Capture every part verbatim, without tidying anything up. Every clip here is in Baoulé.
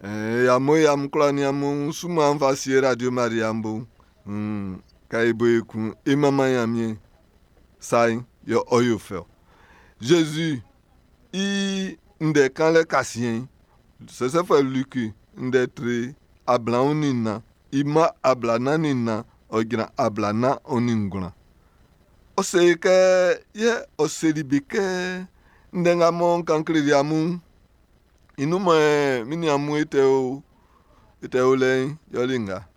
Eh, amun e amun kwla ni amun su mɔ an fa sie Radio Maria bo. Hmm, ka e bo e kun e manman Ɲanmiɛn sa'n yɛ ɔ yo fɛ ɔ. Zezi i ndɛ kanlɛ kasiɛn'n, sɛsɛfuɛ Luki ndɛ tre ablaɔn nin nnan, i mma ablanan nin nnan, ɔ jran ablanan ɔ nin ngwlan. Ɔ se kɛ, yɛ ɔ seli be kɛ, ndɛ nga mɔ n kan kleli amun'n, i nun mɔ min nin amun e tɛ o, e tɛ o lɛ'n, yɛle nga.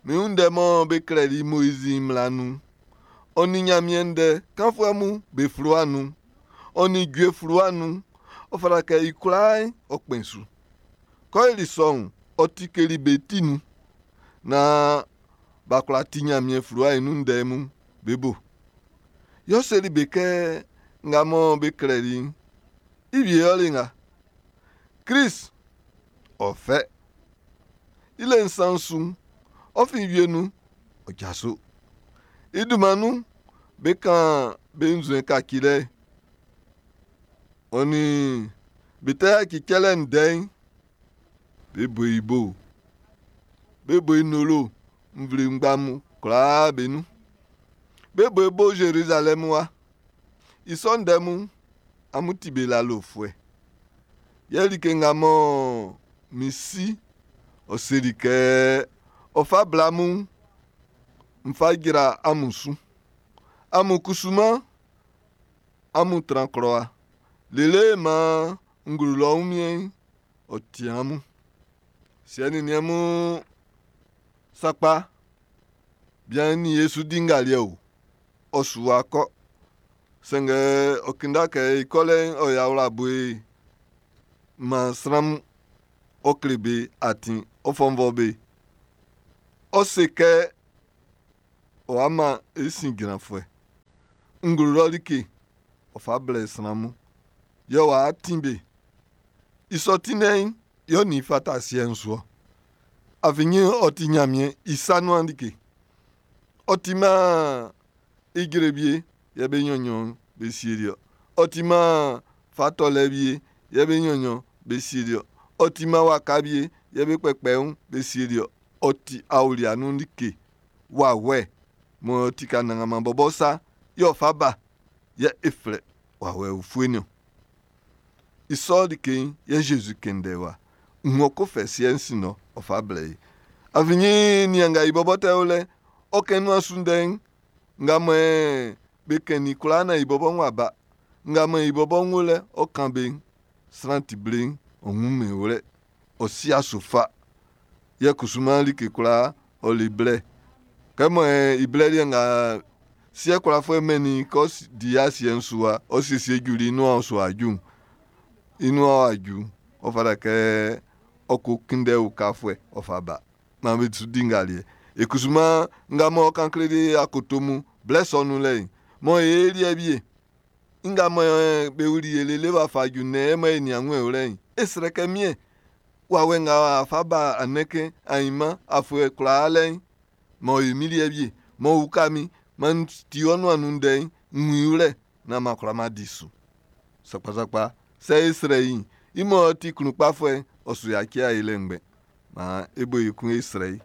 Min wun ndɛ mɔ be klɛli Moizi mmla nun'n, ɔ nin Ɲanmiɛn ndɛ kanfuɛ mun be fluwa nun'n, ɔ nin jue fluwa nun'n, ɔ fata kɛ i kwlaa'n ɔ kpɛn su. Kɛ ɔ yoli sɔ'n, ɔ tikeli be ti nun naan b'a kwla ti Ɲanmiɛn fluwa'n i nun ndɛ mun be bo. Yɛ ɔ seli be kɛ nga mɔ be klɛli'n, i wie yɛle nga. Klist, ɔ fɛ. I le nsan su'n, ɔ fin wie nun, ɔ jaso. I dunman nun, be kan be nzuɛn kacilɛ'n, ɔ nin be tɛ yaci cɛlɛ ndɛ'n, be bo i bo. Be bo i nolo nvle ngba mun kwlaa be nun. Be bo i bo Zerizalɛmu wa. I sɔ ndɛ mun, amun ti be lalofuɛ. Yɛ like nga mɔ min si ɔ seli kɛ ɔ fa bla mun, n fa jra amun su. Amun kusuman, amun tran klɔ wa. Lele maan nglo lɔ wunmiɛn'n, ɔ ti amun. Siɛ nin niɛn mun sakpa, bian'n nin Yesu di ngaliɛ o, ɔ su wa kɔ. Sanngɛ ɔ kinda kɛ i kɔlɛ'n ɔ yɛ awlaboe man sran mun. Ɔ kle be atin, ɔ fɔnvɔ be. Ɔ se kɛ ɔ wa man e sin jranfuɛ. Nglo lɔ like, ɔ fa blɛ sran mun. Yɛ w'a tin be. I sɔ tinlɛ'n, yɛ ɔ nin i fata asiɛ'n su ɔ. Afin ɔ ti Ɲanmiɛn i sa nuan like. Ɔ timan ijre wie yɛ be nɲɔnɲɔn be sieli ɔ. Ɔ timan fa tɔlɛ wie yɛ be nɲɔnɲɔn be sieli ɔ. Ɔ timan waka wie yɛ be kpɛkpɛ be sieli ɔ. Ɔ ti aolia nun like wawɛ m'ɔ ti ka nanganman bɔbɔ sa yɛ ɔ fa ba yɛ e flɛ wawɛ ufue niɔn. I sɔ like'n yɛ Zezi kɛn ndɛ wa. Ng'ɔ ko fɛ siɛ'n sin ɔ, ɔ fa blɛ i. Afin nian nga i bɔbɔ tɛ o lɛ, ɔ kɛn nuan su ndɛ'n, nga mɔ be kɛn i kwlaa na i bɔbɔ wa ba. Nga mɔ i bɔbɔ ń wo lɛ, ɔ kan be sran ti ble'n, ɔ wun wlɛ. Ɔ si aso fa. Yɛ kusuman like kwlaa, ɔ le blɛ. Kɛ mɔ i blɛ liɛ nga siɛ kwlafuɛ mɛnnin kɛ di asiɛ'n su wa, ɔ siesie juli i nuan su aju'n. I nuan aju, ɔ fata kɛ ɔ ko kunndɛ ukafuɛ, ɔ fa ba. Maan be su di ngaliɛ. E kusuman nga mɔ kan kleli akoto mun, blɛ sɔ nun lɛ'n, mɔ e liɛ wie. Nga mɔ be wuli e lele w'a fa ju nɛ mɔ e nian wun e wlɛ'n, e srɛ kɛ miɛn. Wawɛ nga w'a fa ba anɛkɛ ainman afuɛ kwlaa lɛ'n, mɔ e mi liɛ wie, mɔ uka mi, man ti ɔ nuan nun ndɛ'n, n wun i wlɛ, naan ma kwla ma di su. Sakpasakpa, sɛ e srɛ i'n, i mɔ ti klun kpafuɛ'n, ɔ su yaci e lɛ ngbɛn. Maan e bo e kun e srɛ i.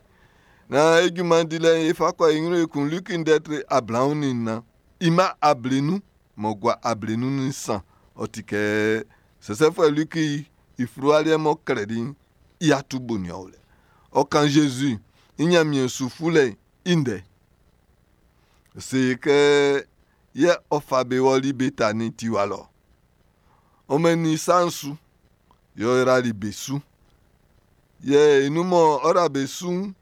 Na e junman dilɛ'n e fa kɔ e ɲrun ekun Luki ndɛ tre ablaɔn nin nnan. I mma ablenun m'ɔ gua ablenun nin nsan. Ɔ ti kɛ sɛsɛfuɛ Luki i fluwa liɛ m'ɔ klɛli'n, i atu bo nin ɔ lɛ. Ɔ kan Zezi i Ɲanmiɛn su fulɛ'n i ndɛ. Se kɛ yɛ ɔ fa be wɔli Betani tiwa lɔ. Ɔ mɛnnin i sa'n su, yɛ ɔ yrali be su. Yɛ i nun mɔ ɔ ra be su'n,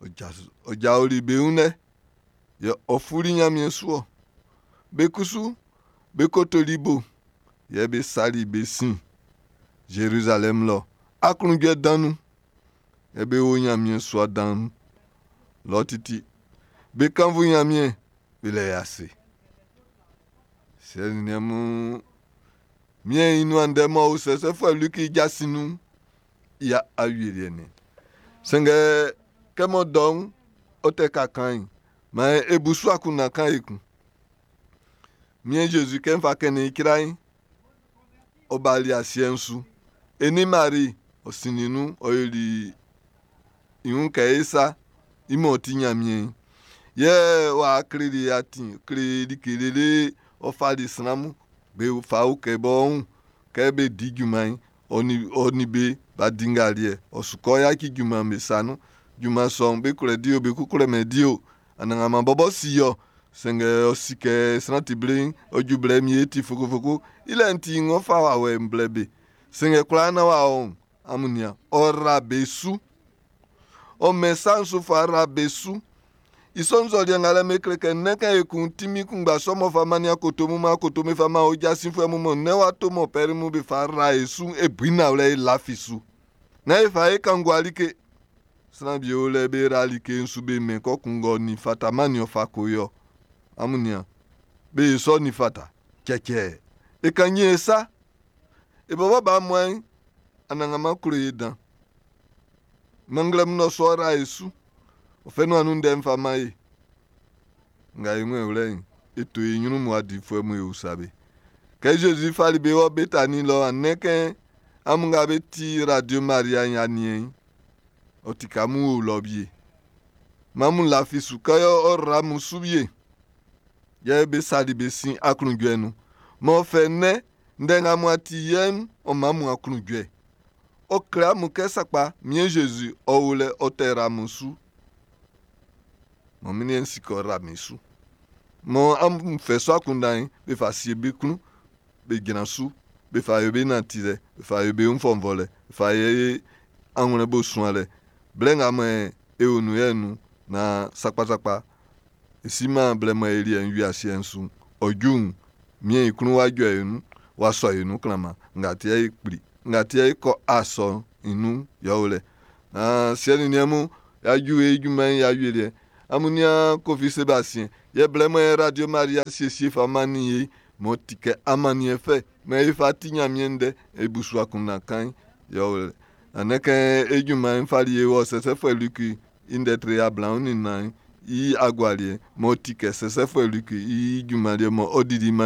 ɔ jaoli be wun lɛ, yɛ ɔ fuli Ɲanmiɛn su ɔ. Be kusu, be kotoli bo, yɛ be sali be sin Zerizalɛm lɔ. Aklunjuɛ dan nun, yɛ be wo Ɲanmiɛn sua dan lɔ titi. Be kannvu Ɲanmiɛn, be lɛ i ase. Siɛ nin niɛn mun, miɛn i nuan ndɛ m'ɔ o sɛsɛfuɛ Luki i jasin nun'n, i awieliɛ nin. Sanngɛ kɛ mɔ dɔ'n ɔ tɛ ka kan'n, maan e bu su akunndan kan ekun. Miɛn Zezi kɛ n fa kɛnnin i kira'n, ɔ bali asiɛ'n su. E nin Mari, Ɔ sinnin nun, ɔ yoli i wun kɛ e sa, i m'ɔ ti Ɲanmiɛn'n. Yɛ w'a kleli atin, kle like lele ɔ fali sran mun be fa ukɛ bɔ wun kɛ be di junman'n, ɔ nin, ɔ nin be b'a di ngaliɛ. Ɔ su kɔ yaci junman be sa nun. Junman sɔ'n, be kwlɛ di o, be ko kwlɛmɛn di o. Anannganman bɔbɔ si ɔ. Sanngɛ ɔ si kɛ sran ti ble'n, ɔ ju blɛ mi e ti fokofoko. I lɛ'n ti ng'ɔ fa wawɛ'n blɛ be. Sanngɛ kwlaa na w'a ɔ'n, amun nian, ɔ ra be su. Ɔ mɛn sa'n su fa ra be su. I sɔ nzɔliɛ nga lɛ me kle kɛ nnɛn kan ekun tinmin kunngba sɔ m'ɔ fa mannin akoto mun mɔ akoto be fa man o jasinfuɛ mun mɔ nnɛn wa to mɔ pɛri mun be fa ra e su e bui nawlɛ e lafi su. Na e fa e kan gua like. Sran bi o lɛ be ra like su be mɛn kɔ kungɔ ni fata man ni ɔ fa ko yɔ. Amun nian. Be sɔ ni fata. Cɛcɛ. E kan nyi e sa. E bɔbɔ ba mɔen anannganman klo e dan. Manglɛmun nɔ sɔ ra e su. Ɔ fɛ nuan nun ndɛ'n fa man e. Nga e wun wlɛ'n, e to e ɲrun mu adifuɛ mun e usa be. Kɛ Zezi fali be wɔ Betani lɔ anɛ kɛ amun nga be ti Radio Maria i aniɛn'n, ɔ ti ka mun o lɔ wie. Mamun lafi su kɛ ɔ ra mun su wie. Yɛ be sali be sin aklunjuɛ nun. M'ɔ fɛ nnɛ, ndɛ nga mun ati yɛ'n, ɔ man mun aklunjuɛ. Ɔ kle amun kɛ sakpa, mien Zezi ɔ wo lɛ ɔ tɛ ra mun su. Mɔ min liɛ'n si kɛ ɔ ra min su. Mɔ amun fɛ sɔ akunndan'n, be fa sie be klun, be jran su, be fa yo be nanti lɛ, be fa yo be wun fɔnvɔlɛ, be fa ye anwlɛn bo suanlɛ. Blɛ nga mɔ e o nun yɛ'n nun, na sakpasakpa, e si man blɛ mɔ e liɛ'n wi asiɛ'n su'n, ɔ ju'n, mien i klun w'a jɔ e nun, w'a sɔ e nun klanman, nga ti yɛ e kpli, nga ti yɛ e kɔ asɔ'n i nun yɛ o lɛ. Na siɛ nin niɛn mun, y'a ju e junman'n y'a wie liɛ. Amun nian Kofi Sébastien, yɛ blɛ mɔ Radio Maria siesie fa mannin ye, m'ɔ ti kɛ amanniɛn fɛ, mɔ e fa ti Ɲanmiɛn ndɛ, e bu su akunndan kan yɛ o lɛ. Anɛ kɛ e junman'n fali e wɔ sɛsɛfuɛ Luki i ndɛ tre ablaɔn nin nnan i agualiɛ m'ɔ ti kɛ sɛsɛfuɛ Luki i junman liɛ mɔ ɔ dili mannin